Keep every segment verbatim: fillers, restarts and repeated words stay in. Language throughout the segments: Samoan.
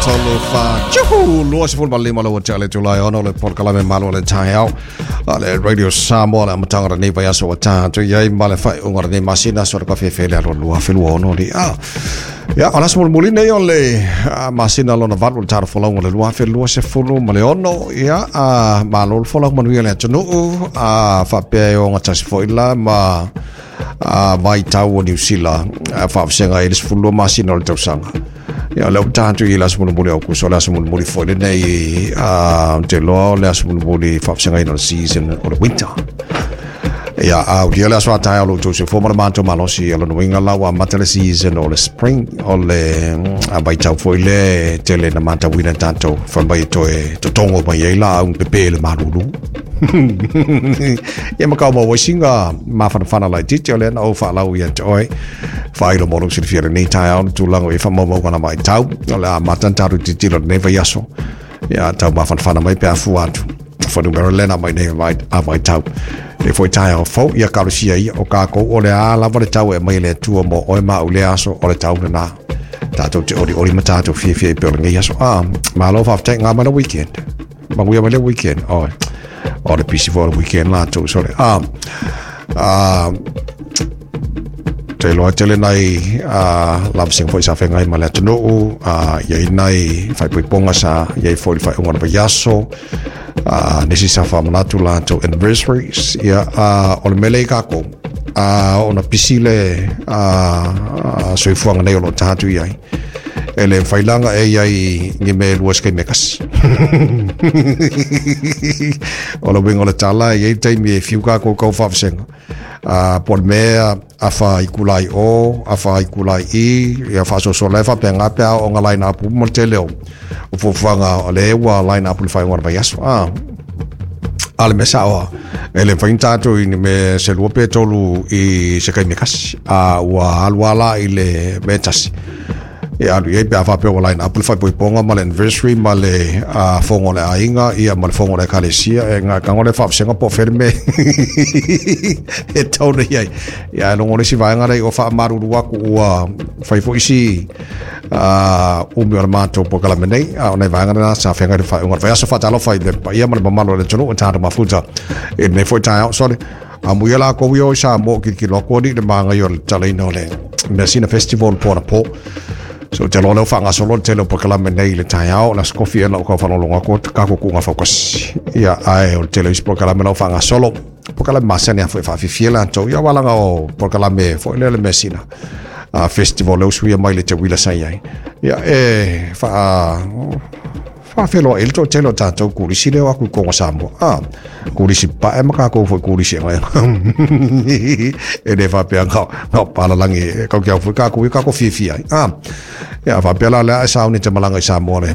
tolu fa tjuhu lua sefulu ma lima lau te ale Julai ono le polokalame malo le taeao a le Radio Samoa le amataga o lenei vaiaso ua tatou i ai ma le faaiuga o lenei masina so le kafefe le alo lua afe lua ono li a ia o le aso mulimuli nei o le masina lona valu le tala folauga le lua afe lua sefulu ma le ono ia a malo le folau manuia le atunuu a faapea e ogatasi foi la ma a vaitau o Niu Sila faavasega ai le sefulu lua masina o le tausaga. Ia lea ua tatou i le aso mulimuli o Aokuso, le aso mulimuli foi lenei a te loa o le aso mulimuli faavasagaina o le season o le winter. Ia a ulia le aso a taeao lo outou soifua ma le matou malosi o lona uiga la ua amata le season o le spring o le vaitau foi le tele na matauina tatou fai mai e toe totogo mai ai laau pepe le malulu. Ia ma kau maua ai siga mafanafana laitiiti o lea na ou faalau ia te oe faailo mo lou silafia lenei taeao le tulaga o i faamaumauga na vaitau o le amata na tatou tilotilo lenei vaiaso ia tau mafanafana mai pe afua atu fuainumera lena mai nei a vaitau le foi taeao fou ia kalosia ia o kākou o le a lava le tau e mai le Atua mo oe ma au lea aso o le tau lena tatou te olioli ma tatou fiafia i pea o lenei aso a malo faafetai ngā mai le weekend manuia mai le weekend oi o le pisi foi o le weekend latou sole a a te iloa tele nai a lavasega foi sa feagai ma le atunuu a i ai nai faaipoipoga sa i ai foi le faaiuga o le vaiaso a nisi sa faamanatu latou anniversaries ia a o le mea lea i kākou a ona pisi le a soifuaga nei o loo tatou i ai e le mafai e iai ni mea e lua se taimi e tasi. O le uiga o le tala e iai le taimi e fiu kākou kau faavasega a po o le mea afa i kulai o afa i kulai i ia faasoasoa lae faapega pe a oo line up uma le tele o o fuafuaga o le ua line up le faaiuga o le vaiaso a a le mea saoa e le mafai ona tatou i ni mea se lua pe tolu i se taimi e tasi a ua alu lava la i le mea e tasi e alu i ai pe a faapea ua line up le faaipoipoga ma le anniversary ma le uh, fogo o le aiga ia ma le fogo o le ekalesia e gatago le faavasega po o fea le mea e tau nei ai ia e logo le isi vaega lea o faamalulu atu ua fai foi isi uh, umi o le matou polokalame nei a o nai vaega lena sa feagai le faaiuga o le vaiaso faatalofa i le paia ma le mamalu o le atunuu e tatou mafuta i lenei foi taeao sole amuia lakou ia o i Samoa o kilokilo atu alii le magaia o le tatalaina o le Measina Festival po anapo. So te loa leo whangasolo le tele o polokalame nei i le taeao o le aso kofi e lau kau whaalongo atu kākou kuʻuga fautasi. Ia ae o le tele o isi polokalame lau whangasolo. Polokalame masani a foi whaafifia latou. Ia walaga o polokalame foi lea le Measina uh, Festival leo suia mai le te wila sai ai. Ia e wha whawheloa i le toatele o tātou kurisi leo aku i Kongo Samoa. Ah, kurisi pae ma kākou foi kurisi e ngai. E le whapea ngau, ngau palalangi e kau kia foi kākou i kākou fiafia ai. Ah, ia whapea la lea e sauni te malanga i Samoa le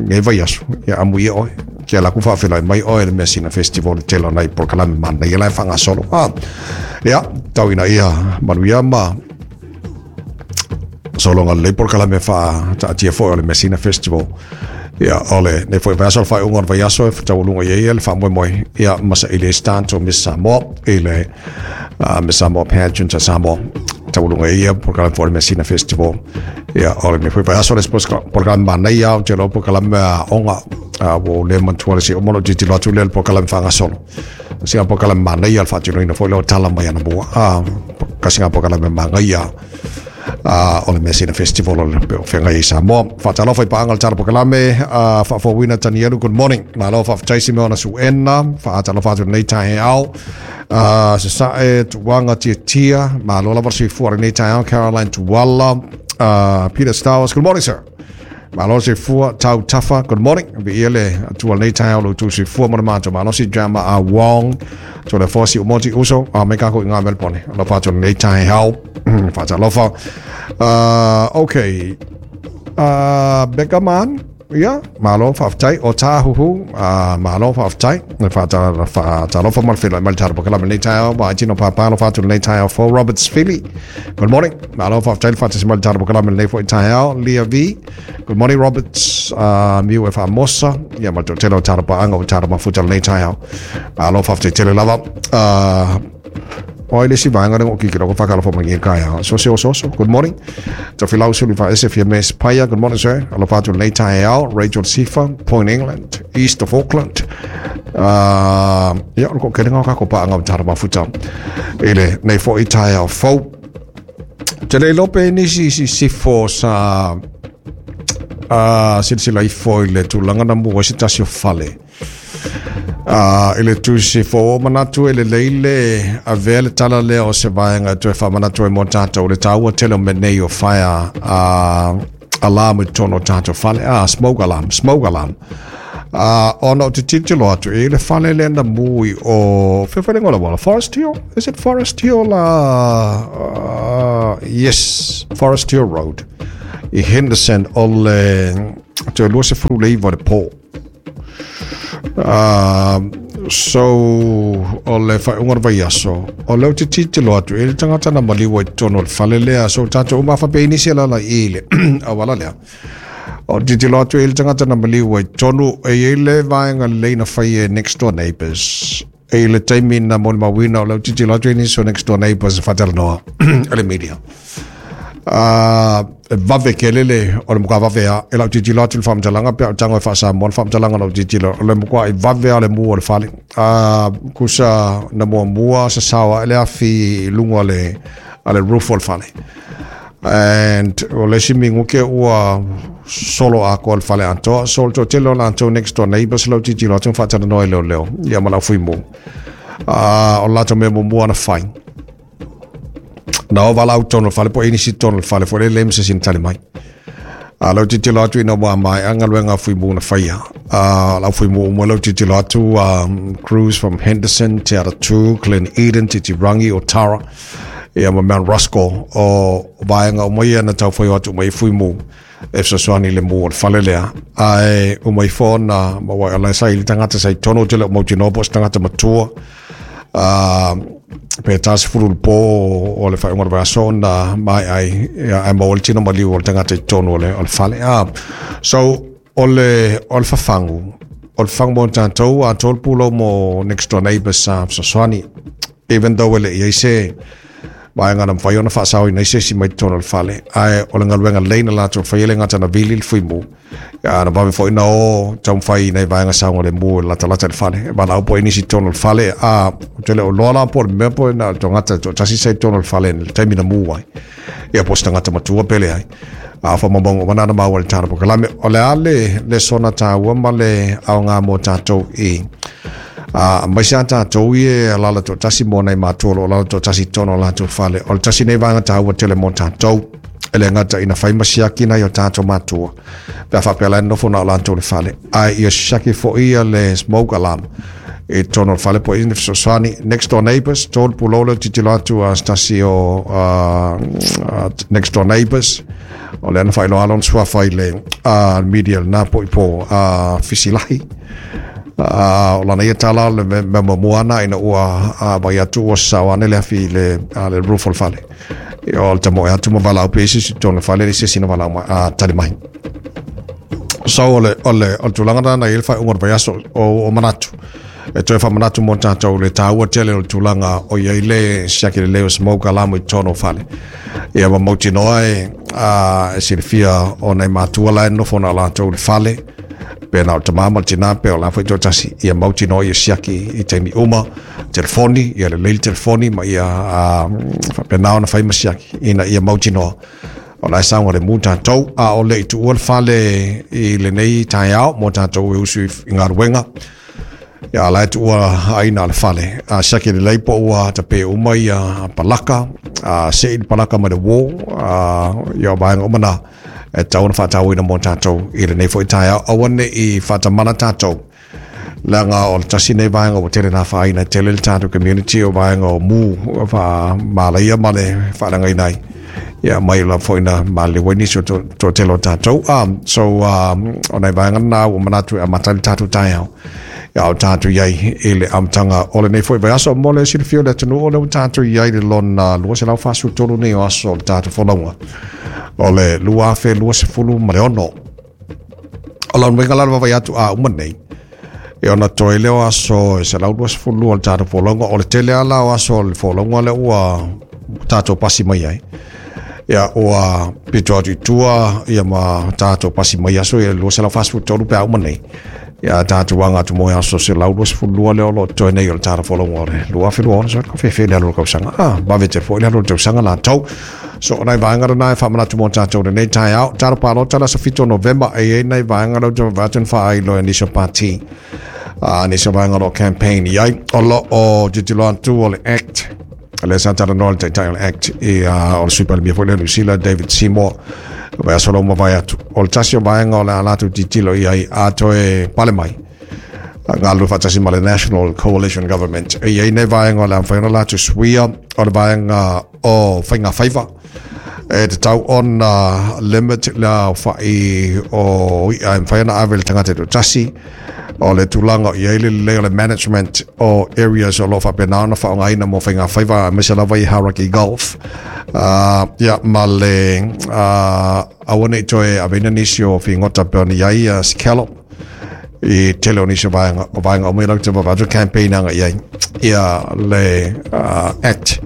ngei vaiaso. Ia amu ia oe. Kia laku whawhelai mai oe le Measina Festival le tele o nai polokalame mana ia la e whangasolo. Ah, ia, tau ina ia manuia ma sologa lelei polokalame faataatia foi o le Measina Festival. Ia o lenei foi vaiaso le faaiuga o le vaiaso e taualuga i ai le faamoemoe ia ma saili ai se tatou Miss Samoa i le uh, Miss Samoa Pageant a Samoa taualuga i ia polokalame foi o le Measina Festival. Ia o lenei foi vaiaso le polokalame manaia o te iloa polokalame aoga a ua ou le manatua le si uma o lou tilotilo atu lea le polokalame faagasolo sina polokalame manaia le faatinoina foi lea o tala mai anamua a kasi polokalame magaia a o le Measina Festival o le pe o feagai i Samoa. Faatalofa i paaga le tala polokalame a faafouina Tanielu, good morning. Malo faafetai Simeona Suena, faatalofa atu lenei taeao. Uh, Sasae Tuaga Tiatia, malo lava le soifua lenei taeao, Caroline Tuala, uh, Peter Stowers, good morning sir. Malo soifua Tau Tafa, good morning. Viia le Atua lenei taeao lo outou soifua ma le matou malosi Drama a Wong. To le fosi o moti uso, a me kako i ngā Melbourne. Alofa atu lenei taeao. Faatalofa. Uh, okay. Uh, Becca Man, ia, malo faafetai o tāhuhu, uh, malo faafetai. Faatalofa ma le feiloai mai le tala polokalame lenei taeao, ma ai tino pāpā alofa atu lenei taeao for Roberts Philly. Good morning. Malo faafetai le faatasi mai le tala polokalame lenei foi taeao. Lia V. Good morning Roberts. Uh, miu e faamosa. Ia ma le toatele o tala paaga o tala mafuta lenei taeao. Malo faafetai tele lava. Uh, O ai le si vaega le o kiki loko whakalofo mangi kaya. So se oso oso. Good morning. Tofilau Sulifa Ese Fiames Paya. Good morning, sir. Alofa atu lenei taeao. Rachel Sifa, Point England, East of Auckland. Uh, ia, o le kokelenga o kako paanga o tara mafuta. I lenei foi taeao fou. Te le lope nisi si sifo sa uh, silasila ifo i le tulaga na mua se tasi o fale. Uh, i le tusi fo o manatu e le leile a vea le tala lea o se vaega toe faamanatu ai mo tatou le taua tele o mea nei o fire uh, alarm i totonu o tatou fale, ah, smoke alarm, smoke alarm. Uh, ona o te tilotilo atu e le fale lea na mu i o fefelega o le auala Forest Hill, is it Forest Hill? Uh, uh, yes, Forest Hill Road i Henderson o le toe lua sefulu le iva o le po. Uh, so o le faaiuga o le vaiaso o lea ou te tilotilo atu e le tagata na maliu ai totonu o le fale lea, so tatou uma faapea nisi e lala i le auala lea. O tilotilo atu e le tagata na maliu ai totonu e iai le vaega lelei na fai e next door neighbors e le taimi na molimauina o lea ou tilotilo atu e nisi o next door neighbors e faatalanoa le media. Uh, vave kele le o le muka vave a e lau tilotilo atu le faamatalaga pe a o tago e faasamoa le faamatalaga lau tilotilo o le muka i vave a le mu o le fale. Uh, kusa na muamua sasao a le afi i luga o le a le roof o le fale. And o le isi miguke ua solo atoa le fale atoa. So o le toatele o latou next door neighbors lau tilotilo atu ma faatalanoa i leoleo ia ma lau fuimu. Uh, o le latou mea muamua na fai. Na o vala au tonu o le fale po o nisi tonu o le fale foi le le ma se isi na tali mai. A lau tilotilo atu ina ua maea galuega fuimu na faia. Uh, lau fuimu uma lau tilotilo atu um, crews from Henderson, Te Atatū, Glen Eden, Titirangi, Otara, ia ma Mount Roskill o vaega uma ia na taufai o atu uma i fuimu e fesoasoani i le mu o le fale lea. Ae uma ifo ona maua o la sa i le tagata sa i tonu o te le o mautinoa po o se tagata matua. Uh, pe tasi fulu le po o le faaiuga o le vaiaso ona maea ai ae maua le tino maliu o le tagata i totonu o le, o le fale. Ah, so o le, o le fafagu o le fafagu mo tatou atoa le pulou mo next door neighbors sa fesoasoani even though e le i ai se vaega na mafai ona faasaoina ai se isi mai totonu o le fale, ae o le galuega lelei na latou faia le gata na vili le fuimu na vave foi na o taumafai i nai vaega saogalemu e latalata i le fale e valaau po o nisi i totonu o le fale a ou te le o iloa la po o le mea po na o le tagata toatasi sa i totonu o le fale i le taimi na mu ai ia po o se tagata matua pe leai. A faamaumauga uma na na maua i le tala polokalame o le a le lesona taua ma le aoga mo tatou i Uh, aemaise a tatou ia e alala toatasi mo nai matua o lo o lala toatasi i totonu o latou fale. O le tasi nei vaega taua tele mo tatou e le gata ina fai ma siaki nai o tatou matua pe a faapea la e nofo na o latou le fale, ae ia siaki foi ia le smoke alarm i totonu o le fale po o ina fesoasoani next door neighbors. Tolu pulou lea tilotilo atu a se tasi o uh, uh, next door neighbors o lea na faailoa lona suafa i le uh, media lena po i po uh, Fisilahi. Uh, o lana ia tala o le mea muamua ana ina ua uh, vai atu ua sasao ane le afi i le, uh, le roof o le fale. O le tamoe atu ma valaau pe isi i totonu o le fale, le se isi na valaau mai, uh, tali mai. So o le, o le, o le tulaga lena i le faaiuga o le vaiaso o, o manatu. E toe faamanatu mo tatou le taua tele o le tulaga o iai le siaki lelei o smoke alarm i totonu o fale. Ia ma mautinoa e, uh, e silafia o nai matua la e nofo na o latou le fale, pe na o le tamā ma le tinā pe o la foi toatasi, ia mautinoa ia siaki i taimi uma, telefoni, ia lelei le telefoni ma ia uh, faapena ona fai ma siaki ina ia mautinoa o la e saogalemu tatou. A o le i tuua le fale i lenei taeao mo tatou e usu i galuega, ia la e tuua aina le fale. A siaki lelei po ua tape uma ia palaka, a sei le palaka mai le uō, a ia vaega uma na e tatau ona faatauaina mo tatou i lenei foi taeao. Aua ne i faatamala tatou leaga o le tasi nei vaega ua tele na afaina e tele le tatou community o vaega o mu faamalaia ma le faaleagaina ai ia mai lava foi na maliliu ai nisi o toatele o tatou. Um, so um, o nai vaega na ua manatu e amata ai le tatou taeao ia o tatou iai i le amataga o lenei foi vaiaso mo le silafia o le atunuu o lea ua tatou iai le lona lua selau fasefulu tolu nei o aso o le tatou folauga o le lua afe luasefulu ma le ono. O lona uiga la le vaavaai atu a uma nei E ona toe lea o aso e selau luasefulu lua o le tatou folauga. O le tele lava la o aso o le folauga lea ua tatou pasi mai ai. Ia ua pito atu i tua ia ma tatou pasi mai aso ia lua selau fasefulu tolu pe a uma nei. Ia tatou aga atu mo aso selau luasefulu lua lea o lo o totoe nei o le tatou folauga o le lua afe lua ono. So ka fefe le alu o le tausaga. Ah, vave tele foi le alu o le tausaga latou. So o nai vaega lena e faamanatu mo tatou lenei taeao. Talo palota le aso fitu o Novema e i ai nai vaega lea ou te vaavaai atu na faailo e nisi o pati. Uh, nisi o vaega o lo o campaign i ai. O lo o tilotilo atu o le Act, lea sa talanoa le taitai o le Act i uh, o le Sui Palemia foi lea o Niu Sila, David Seymour, vaiaso ua mavae atu. O le tasi o vaega o le a latou tilotilo i ai a toe pale mai galulue faatasi ma le National Coalition Government. E i ai nei vaega o le a mafai ona latou suia, o le vaega o faiga faiva e tatau ona limit le aofa'i o i'a e mafai ona ave i le tagata e toatasi, o le tulaga o i ai le lelei o le management o areas o lo o faapena ona faaaogaina mo faiga faiva, aemaise lava i Hauraki Gulf, uh, ia ma le uh, aua nei toe aveina nisi o figota pe ona i ai uh, scallop i tele o nisi o vaega o vaega uma ia lau te vaavaai atu campaign aga i ai ia le uh, Act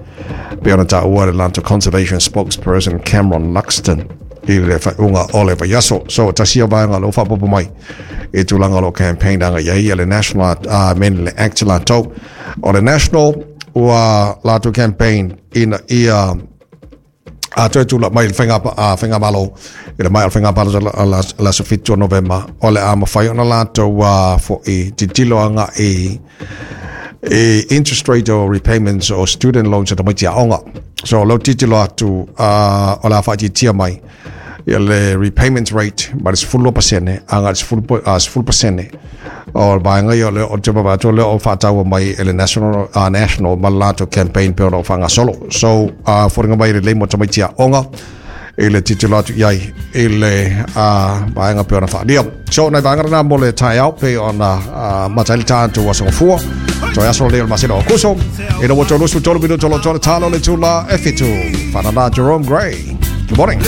pe ona taua le latou conservation spokesperson Cameron Luxton i le faaiuga o le vaiaso. So tasi ia vaega o lea ua faaopoopo mai i tulaga o lo o campaign aga i ai ia le National uh, men le Act latou. O le National ua latou campaign ina ia a toe tula mai le faiga uh, faigamalo i le mai o le faiga palota le aso fitu o Novema, o le a mafai ona latou uh, fo'i tilotilo agai i interest rate o repayments o student loans a tamaiti aoga. So o lea ua tilotilo atu uh, o le a faaitiitia mai ia le repayment rate mai le sefulu lua pasene agai le sefulu pasene. O le vaega ia o lea o te vaavaai atu o lea o faataua mai e le National, uh, National ma le latou campaign pe ona o faagasolo. So uh, foliga mai lelei mo tamaiti aoga i le tilotilo atu i ai i le uh, vaega pe ona faaalia. So nai vaega lena mo le taeao pe ona uh, mata ai le tatou aso gafua. Toe aso lea o le masina o Akuso. Ina ua tolu sefulu tolu minuto lo tole talo le tula e fitu. Whanana Jerome Gray. Good morning.